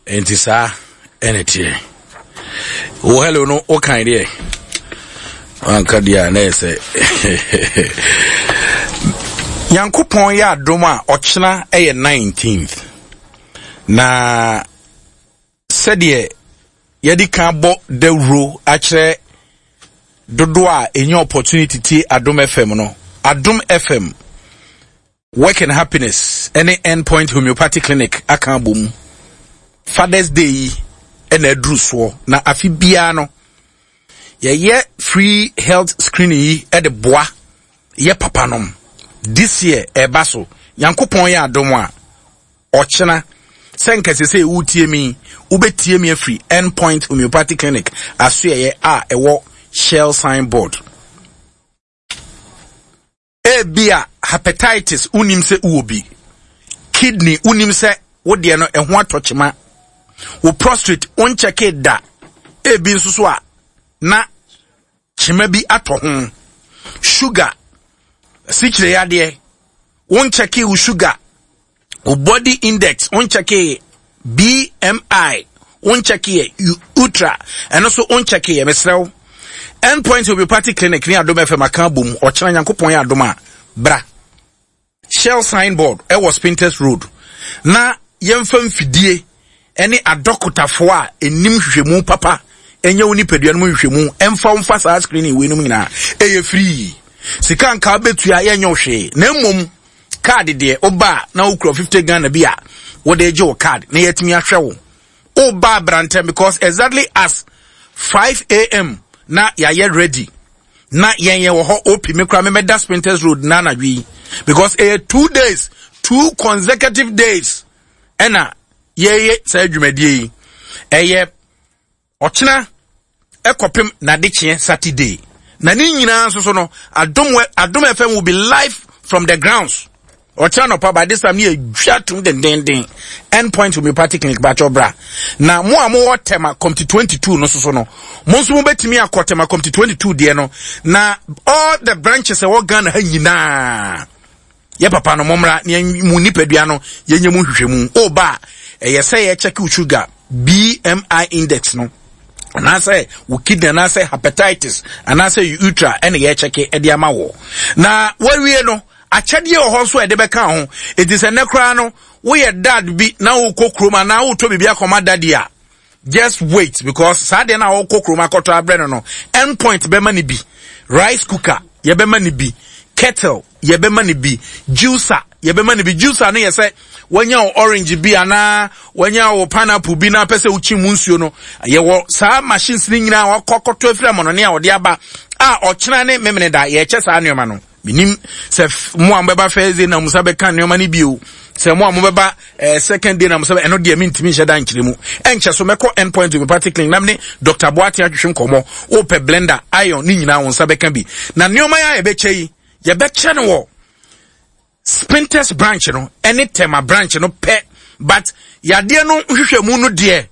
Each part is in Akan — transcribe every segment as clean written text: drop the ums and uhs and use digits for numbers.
Nti saa ɛna teɛ. Wo hello no wokan deɛ wanka deɛ a na yɛ sɛ Nyankopɔn yɛ adom a ɔkyena ɛyɛ 19th na sɛdeɛ yɛde kan bɔ dawuro akyerɛ dodoɔ a ɛnya opportunity tie Adom FM no, Adom FM Work and Happiness ne End Point Homeopathy Clinic aka abom. Father's Day yi na aduru soɔ na afe biara no yɛyɛ free health screening yi de boa yɛ papa nom. This year ɛba so. Nyankopɔn yɛ adom a ɔkyena sɛ nka sɛ sɛ wotie mi wobɛtie mi afiri End Point Homeopathy Clinic asoɛeɛ a ɛwɔ Shell signboard. Ebia hepatitis wonim sɛ wowɔ bi, kidney wonim sɛ wo deɛ no ɛho atɔ kyema, wo prostate wonkyɛke da, ebi nso so a na kyema bi atɔ ho, sugar, sikyire yadeɛ, wonkyɛke wo sugar, wo body index wonkyɛkeeɛ BMI wonkyɛkeeɛ ultra ɛno so wonkyɛkeeɛ mesrɛ wo Endpoint Homeopathic Clinic ne Adom FM aka abom ɔkyena Nyankopɔn yɛ adom a bra Shell signboard ɛwɔ Spintex Road na yɛmfa mfidie ɛne adɔkotafoɔ a ɛnim hwehwɛmu papa ɛnyɛ wo nipadua no mu nhwehwɛmu ɛmfa wo mfa saa screening wei nom nyinaa ɛyɛ free sika nka wobɛtua yɛnyɛ wo hwee na mmom Card deɛ woba a na wokura 50 Ghana bi a wode gye wo card na yɛatumi ahwɛ wo. Woba abrantɛm because exactly as 5 am na yɛayɛ ready na yɛn yɛ wɔ hɔ OP me kora memɛda Spintex Road na anadwo yi because ɛyɛ 2 days, 2 consecutive days ɛna yɛyɛ saa dwumadie yi. Ɛyɛ ɔkyena ɛkɔpem n'adekyeɛ Saturday na ne nyinaa nso so no Adom Adom FM will be live from the grounds ɔkyena nɔpa. By this time ne yɛdwa tom dendenden. End Point Homeopathic Clinic bakyɛ bra na mo a mowɔ Tema Community 22 no so no, mo nso mobɛtumi akɔ Tema Community 22 deɛ no na all the branches ɛwɔ Ghana ha nyinaa, yɛ papa no mommra na mu nipadua no yɛnyɛ mu nhwehwɛmu. Woba a ɛyɛ sɛ yɛkyɛke wo sugar, BMI index no, anaasɛ wo kidney, anaasɛ hepatitis, anaasɛ utra ɛna yɛkyɛke ɛde ama wɔ na wawie no. Akyɛdeɛ wɔ hɔ nso a ɛde bɛka ho. Enti sɛ nnɛ koraa no woyɛ dad bi na wokɔ kurom anaa wotɔ biribi akɔma daddy a, just wait because saa deɛ no a wɔkɔ kurom akɔtɔ abrɛ no, End Point bɛma no bi. Rice cooker yɛbɛma no bi, kettle yɛbɛma no bi, juicer yɛbɛma no bi. Juicer no yɛ sɛ wanya wo orange bi anaa wanya wo pineapple bi na apɛ sɛ wokyi mu nsuo no. Yɛwɔ saa machines no nyinaa wakɔ akɔtɔ afiri amɔnɔne a wɔde aba a ɔkyena ne memene da yɛkyɛ saa nneɛma no. Menim sɛ mo a mobɛba first day na mo nsa bɛka nneɛma no bio, sɛ mo a mobɛba second day na mo nsa ɛno deɛ mentumi nhyɛ da nkyerɛ mu. Ɛnkyɛ so mɛkɔ End Point Homeopathic Clinic na mene Dr. Boateng atwetwe nkɔmmɔ. Wopɛ blender, iron ne nyinaa wo nsa bɛka bi. Na nneɛma yi a yɛbɛkyɛ yi, yɛbɛkyɛ no wɔ Spintex branch no ɛne Tema branch no pɛ, but yadeɛ no nhwehwɛmu no deɛ,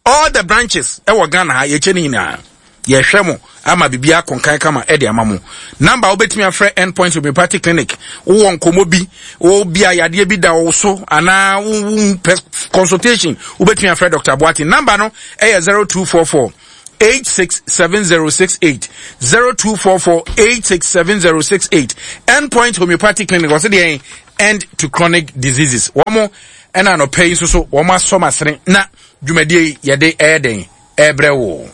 all the branches ɛwɔ Ghana ha yɛkyɛ no nyinaa. Yɛhwɛ mo ama biribi akonkan kama ɛde ama mo. Number wobɛtumi afrɛ End Point Homeopathic Clinic, wowɔ nkɔmmɔ bi, wo bi a yadeɛ bi da wo so anaa wo pɛ consultation, wobɛtumi afrɛ Dr. Boateng. Number no ɛyɛ 0244 867068, 0244 867068. End Point Homeopathic Clinic, wɔsɛ deɛ end to chronic diseases. Wɔn ɛna anɔpɛ yi nso so wɔn asɔ masene na dwumadie yi yɛde ɛyɛ den ɛbrɛ wo.